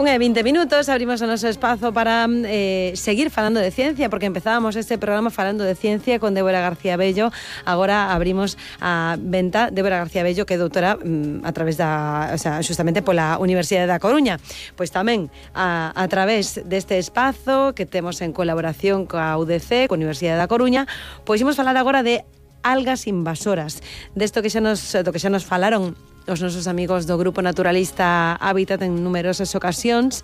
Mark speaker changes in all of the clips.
Speaker 1: 1:20, abrimos o noso espazo para seguir falando de ciencia, porque empezábamos este programa falando de ciencia con Débora García Bello. Agora abrimos a venta Débora García Bello, que é doutora a través da, justamente pola Universidade da Coruña. Pois tamén a través deste espazo que temos en colaboración coa UDC, coa Universidade da Coruña, pois imos falar agora de algas invasoras, desto que xa nos falaron os nosos amigos do Grupo Naturalista Hábitat en numerosas ocasións.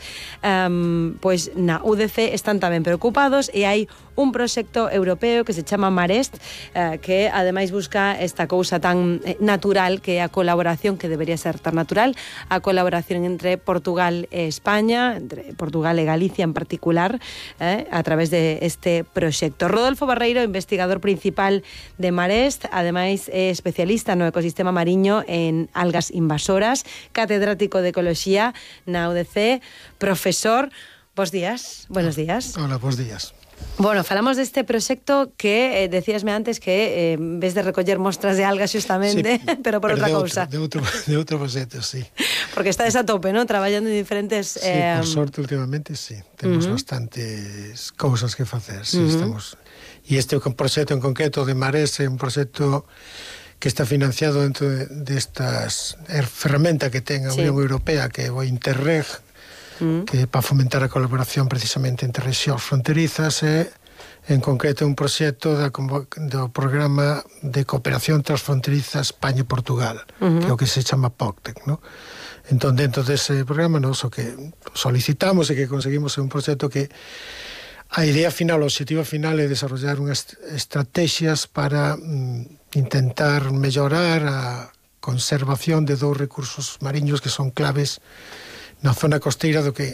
Speaker 1: Pois na UDC están tamén preocupados e hai un proxecto europeo que se chama Marest, que ademais busca esta cousa tan natural que é a colaboración, que debería ser tan natural, a colaboración entre Portugal e España, entre Portugal e Galicia en particular, a través de este proxecto. Rodolfo Barreiro, investigador principal de Marest, ademais é especialista no ecosistema mariño en algas invasoras, catedrático de Ecoloxía na UDC, profesor. Bos días, buenos días.
Speaker 2: Hola, bos días.
Speaker 1: Bueno, falamos deste proxecto que decíasme antes que en vez de recoller mostras de algas xustamente, sí, pero por outra cousa.
Speaker 2: De outro proxecto, sí.
Speaker 1: Porque estades a tope, ¿no? Traballando en diferentes...
Speaker 2: Sí, por sorte, últimamente, sí. Temos bastantes cousas que facer, sí, estamos... E este proxecto en concreto de Marés é un proxecto que está financiado dentro destas ferramenta que ten a Unión Europea, que é o Interreg, que é para fomentar a colaboración precisamente entre rexións fronterizas, e en concreto un proxecto do programa de cooperación transfronteriza España e Portugal, que é o que se chama POCTEC, ¿no? Entón, dentro dese programa, nos o que solicitamos e que conseguimos é un proxecto que a idea final, o objetivo final é desarrollar unhas estrategias para intentar mellorar a conservación de dous recursos mariños que son claves na zona costeira do que